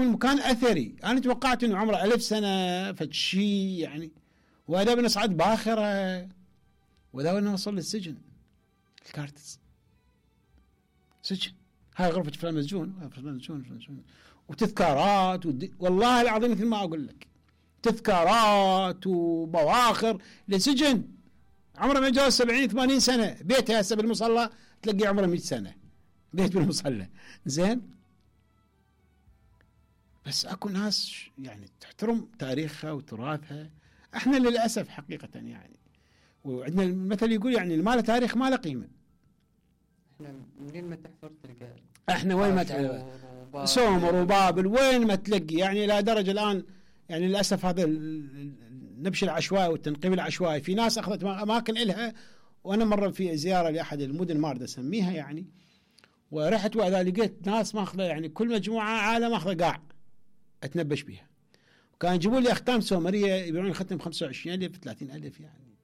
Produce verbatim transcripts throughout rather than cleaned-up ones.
يكون مكان اثري. انا توقعت انه عمره ألف سنه فشي يعني، وهذا بنصعد باخره، وذا نوصل للسجن. الكارتز سجن، هاي غرفة فلان مسجون، فلان مسجون، فلان مسجون، وتذكارات ودي... والله العظيم مثل ما اقول لك، تذكارات وبواخر لسجن. عمره ما يتجاوز سبعين ثمانين سنة. بيته هسه بالمصلى تلاقي عمره مئة سنة، بيت بالمصلى. زين، بس اكو ناس يعني تحترم تاريخها وتراثها. احنا للاسف حقيقة يعني، وعندنا المثل يقول يعني ما له تاريخ ما له قيمة. احنا منين ما تحفر تلقى، احنا وين ما تحفر سومر وبابل وين ما تلاقي، يعني الى درجة الان يعني للاسف هذا النبش العشوائي والتنقيب العشوائي. في ناس اخذت اماكن الها، وانا مره في زياره لاحد المدن مارده اسميها يعني، ورحت واذا لقيت ناس ماخذه يعني كل مجموعه عالم ماخذه قاع اتنبش بها، وكان يجيبوا لي اختام سومريه يبيعون الختم ب خمسة وعشرين ألف ثلاثين ألف يعني.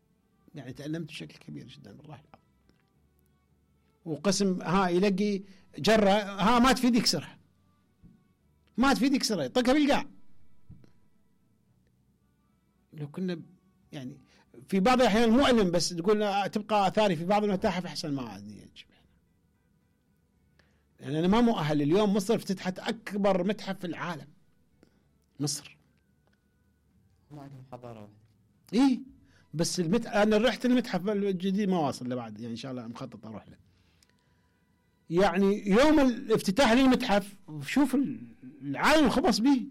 يعني تألمت بشكل كبير جدا بالله العظيم. وقسم ها يلقي جره ها ما تفيد يكسرها، ما تفيد يكسرها، يطقها بالقاع. لو كنا يعني في بعض الأحيان مؤلم، بس تقول تبقى آثاري في بعض المتاحف أحسن ما عادني يجب. يعني أنا ما مؤهل. اليوم مصر افتتحت أكبر متحف في العالم. مصر ما عندهم حضارة واحدة. إيه بس المت... أنا رحت المتحف الجديد ما واصل لبعد يعني، إن شاء الله مخطط أروح له. يعني يوم الافتتاح للمتحف شوف العالم الخبص به،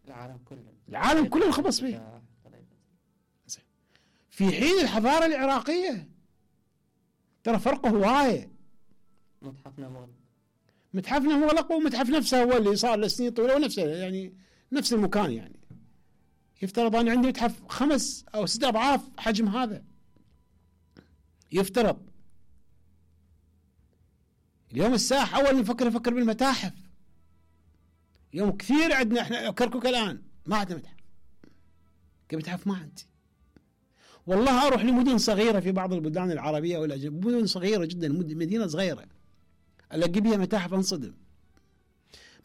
العالم كله العالم كله الخبص به. في حين الحضارة العراقية ترى فرقه هواية. متحفنا مغلق، متحفنا مغلق، ومتحف نفسه هو اللي صار لسنين طويلة ونفسه يعني نفس المكان. يعني يفترض أن عندي متحف خمس أو ست أضعاف حجم هذا، يفترض. اليوم الساحة أول نفكر نفكر بالمتاحف. اليوم كثير عندنا إحنا كركوك الآن ما عندنا متحف، كمتحف ما عندي. والله أروح لمدن صغيرة في بعض البلدان العربية والأجنبية، مدن صغيرة جدا، مدينة صغيرة ألاقي بها متاحف أنصدم.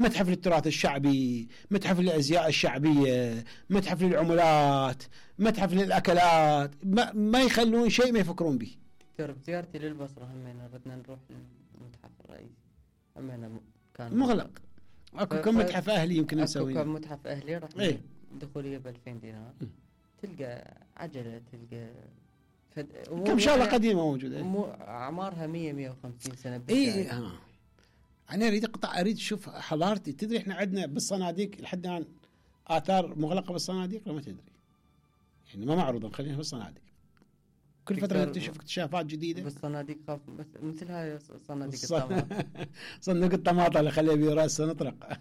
متحف للتراث الشعبي، متحف للأزياء الشعبية، متحف للعملات، متحف للأكلات، ما, ما يخلون شيء ما يفكرون به. دكتور بزيارتي للبصرة همينا ردنا نروح للمتحف الرئيسي، همينا كان مغلق. اكو كم متحف أهلي يمكن نسوي. اكو كم متحف أهلي رحنا ايه؟ دخولية بألفين دينار. م. تلقى عجلة، تلقى فد... كم شغلة قديمة موجودة، مو أعمارها مية مية وخمسين سنة. اي ها أنا أريد أقطع، أريد أشوف حضارتي. تدري إحنا عندنا بالصناديق لحد الآن آثار مغلقة بالصناديق لو ما تدري يعني، ما معروضة خلينا بالصناديق. كل فترة تشوف اكتشافات جديدة بالصناديق، خاف بس مثل هاي صناديق الطماطم. صندوق الطماطم اللي خليه براسه نطرق.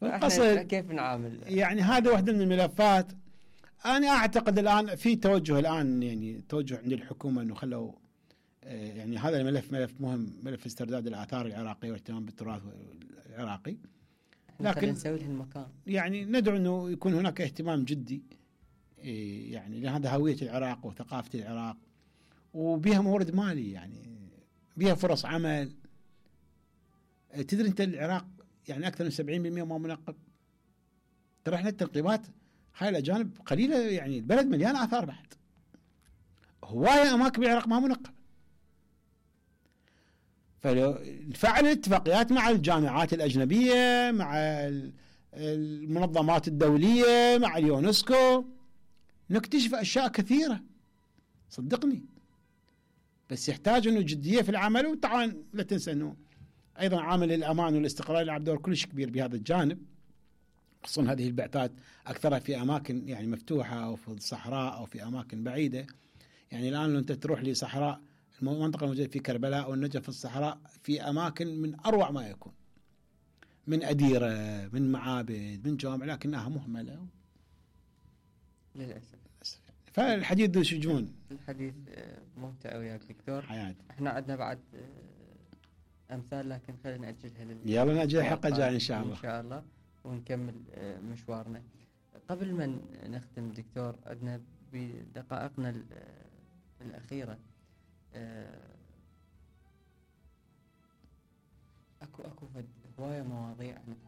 فقصد كيف نعامل يعني هذا واحدة من الملفات. أنا أعتقد الآن في توجه، الآن يعني توجه عند الحكومة إنه خلوا يعني هذا الملف ملف مهم، ملف استرداد الآثار العراقية والاهتمام بالتراث العراقي. لكن نسوي له المكان، يعني ندعو إنه يكون هناك اهتمام جدي يعني، لأن هذا هوية العراق وثقافة العراق، وبها مورد مالي يعني، بها فرص عمل. تدري أنت العراق يعني أكثر من سبعين بالمئة ما منقب. ترى إحنا التنقيبات هاي الأجانب قليلة يعني، البلد مليان آثار بعد، هواية أماكن بالعراق ما منقب. فلو نفعل الاتفاقيات مع الجامعات الأجنبية، مع المنظمات الدولية، مع اليونسكو، نكتشف أشياء كثيرة صدقني. بس يحتاج أنه جدية في العمل. وطبعا لا تنسى أنه أيضا عامل الأمان والاستقرار يلعب دور كلش كبير بهذا الجانب، خصوصا هذه البعثات أكثرها في أماكن يعني مفتوحة أو في الصحراء أو في أماكن بعيدة. يعني الآن لو أنت تروح لصحراء المنطقة الموجودة في كربلاء أو النجف في الصحراء، في أماكن من أروع ما يكون، من أديرة، من معابد، من جوامع، لكنها مهملة للأسف. فالحديث ذو شجون. الحديث ممتع وياك دكتور. حياتي. احنا عندنا بعد أمثال لكن خلينا نأجلها لل... يلا نأجل حلقة جاي إن شاء الله. إن شاء الله ونكمل مشوارنا. قبل ما نختم دكتور، عندنا بدقائقنا الأخيرة اكو اكو هواية مواضيع